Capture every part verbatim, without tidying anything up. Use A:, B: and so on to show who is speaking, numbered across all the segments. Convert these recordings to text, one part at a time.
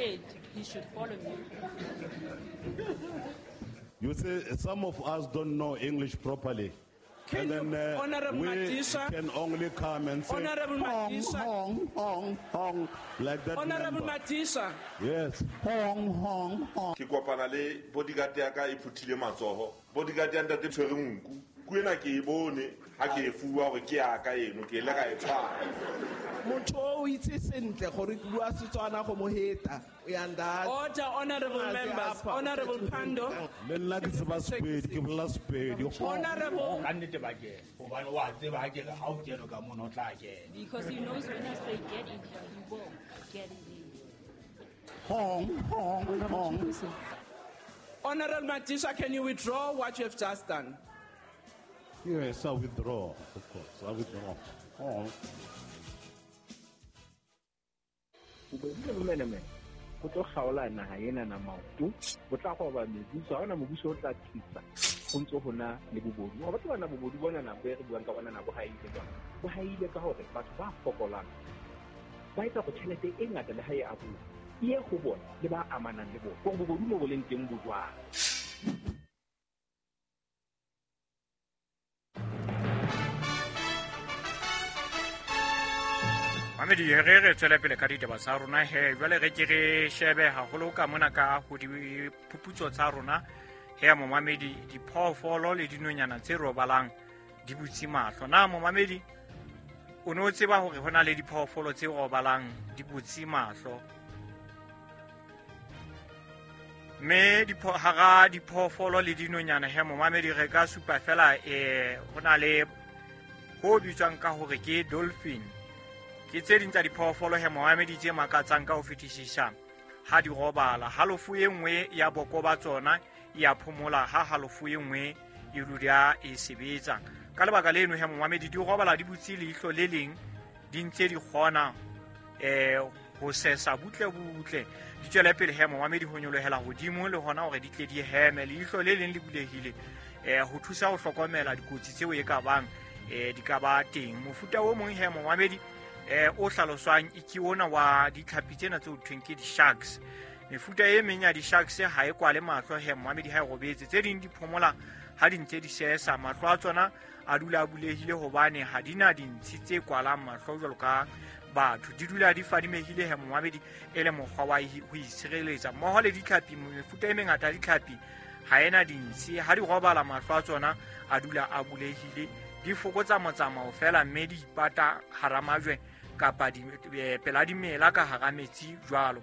A: head, he should follow me.
B: You see, some of us don't know English properly.
C: Can
B: and
C: you-
B: then uh,
C: Honorable
B: we
C: Madisha?
B: can only come and say,
C: Honorable
B: hong,
C: Madisha.
B: hong, hong, hong, like that
C: Honorable
B: member.
C: Madisha,
B: Yes, hong, hong, hong.
D: Ke kopana le bodyguard ya ka e phuthile matsoho. Bodyguard ya ntate tshwere nku. Nku ena ke e bone ha ke e fuwa hore ke ya ka eno, ke ile ka e tshwara.
E: Motho o itse sentle gore ke bua Setswana go mo heta o ya nda.
C: Order, honorable members. Honorable Pandor.
B: Le nna ke tseba Sepedi, ke bolela Sepedi. Hong,
C: Honorable,
F: Ka nnete ba kena hobane wa tseba ha ke re ha o kene ka mono o tla kena.
A: Because he knows when I say get in here, he will get in here.
B: Hong, hong, hong.
C: Honorable Madisha, can you withdraw what you have just done?
B: Yes, I withdraw, of course, I withdraw. Hong.
G: Bobodu le bomenemene bo tlo kgaola naha ena na maoto, bo tla roba mebuso, ha hona mobuso o tla tsitsa ho ntso ho na le bobodu. Wa batho bana bobodu bona na bo e re buang ka bona na bo haile jwang? Bo haile ka hore batho ba fokolang ba etsa hore tjhelete e ngata le ha e abuwa e ye ho bona le ba amanang le bona. Hore bobodu mo bo leng teng bo jwang.
H: Mamedi, re re tswele pele ka ditaba tsa rona he. Jwale re ke re shebe haholo ka mona ka ho diphuputso tsa rona he momamedi, diphoofolo le dinonyana tse robalang di butse mahlo. Na momamedi, o no tseba hore hona le diphoofolo tse robalang di butse mahlo? Mme dipho-, hara diphoofolo le dinonyana he momamedi, re ka supa fela, eh, hona le ho bitswang ka hore ke dolphin. Ke tse ding tsa diphoofolo he momamedi tse makatsang ka ho fetisisa ha di robala. Halofo e nngwe ya boko ba tsona e a phomola, ha halofo e nngwe e dula e sebetsa. Ka lebaka leno he momamedi, di robala di butse leihlo le leng, di ntse di kgona, eh, ho sesa butle butle. Di tswele pele he momamedi ho nyolohela hodimo le hona hore di tle di heme. Leihlo le leng le bulehile, eh, ho thusa ho hlokomela dikotsi tseo e ka bang, eh, di ka ba teng. Mofuta o mong he momamedi, eh, o hlaloswang e ke ona wa ditlhapi tsena tse ho thweng ke di-sharks. Mefuta e meng ya di-sharks ha e kwale mahlo he momamedi ha e robetse. Tse ding di phomola ha di ntse di sesa, mahlo a tsona a dula a bulehile hobane ha di na dintshi tse kwalang mahlo jwalo ka batho. Di dula di fadimehile he momamedi e le mokgwa wa hi-, ho itshireletsa. Mmoho le ditlhapi, mefuta e mengata ya ditlhapi ha ena dintshi, ha di robala mahlo a tsona a dula a bulehile. Di fokotsa motsamao fela mme di ipata hara majwe kapa di, eh, pela dimela ka hara metsi jwalo.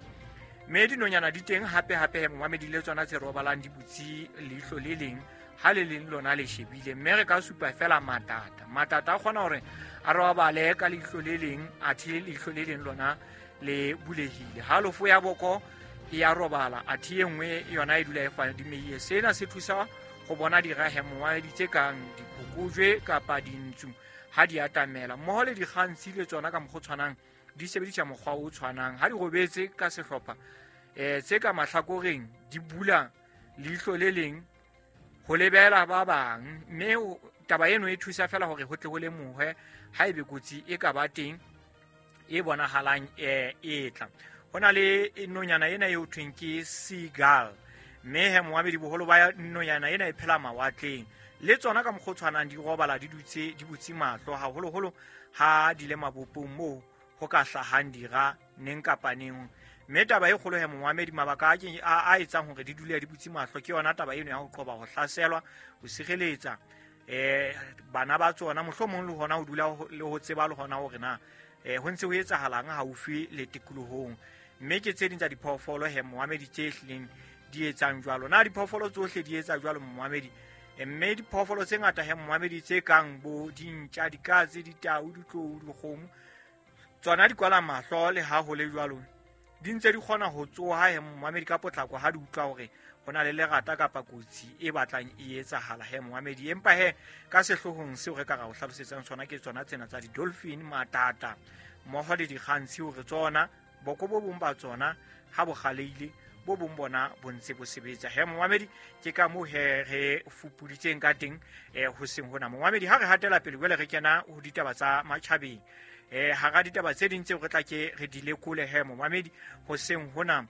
H: Mme dinonyana di teng hape hape he momamedi le tsona tse robalang di butse leihlo le leng, ha le leng lona le shebile. Mme re ka supa fela matata. Matata a kgona hore a robale ka leihlo le leng, athe leihlo le leng lona le bulehile. Halofo ya boko e ya robala, athe e nngwe yona e dula e fadimehile. Sena se thusa ho bona dirahe momamedi tse kang diphokojwe kapa dintsu ha di atamela. Mmoho le dikgantshi le tsona ka mokgwa o tshwanang di sebedisa mokgwa o tshwanang. Ha di robetse ka sehlopha, eh, tse ka mahlakoreng di bula leihlo le leng ho lebela ba bang, mme ho-, taba eno e thusa fela hore ho tle ho lemohwe ha ebe kotsi e ka ba teng e bonahalang, eh, e tla. Ho na le nonyana ena eo thweng ke seagull, mme he momamedi boholo ba nonyana ena e phela mawatleng. Le tsona ka mokgwa o tshwanang di robala di dutse di butse mahlo, haholoholo ha di le mabopong moo ho ka hlahang dira neng kapa neng. Mme taba e kgolo he momamedi, mabaka a ke, a, a etsang hore di dule di butse mahlo ke yona taba eno ya ho qoba ho hlaselwa, ho sireletsa, eh, bana ba tsona, mohlomong le hona ho dula ho, le ho tseba le hona hore na, eh, ho ntse ho etsahalang haufi le tikolohong. Mme ke tse ding tsa diphoofolo he momamedi tse hlileng di etsang jwalo. Na diphoofolo tsohle di etsa jwalo momamedi? Eh, mme diphoofolo tse ngata he momamedi tse kang bo dintja, dikatse, ditau, ditlou, dikgomo, tsona di kwala mahlo le ha ho le jwalo. Di ntse di kgona ho tsoha he momamedi ka potlako ha di utlwa hore ho na le lerata kapa kotsi e batlang e etsahala he momamedi. Empa he ka sehloohong seo re ka ra o hlalosetsang sona ke tsona tsena tsa di-dolphin, matata mmoho le dikgantshi, hore tsona boko bo bong ba tsona ha bo kgaleile, bo bong bona bo ntse bo sebetsa. He momamedi, ke ka moo he re fupuditseng ka teng, eh, ho seng hona. Momamedi, ha re hatela pele jwale re kena ho ditaba tsa matjhabeng. Eh, hara ditaba tse ding tseo re tla ke re di lekole he momamedi ho seng hona,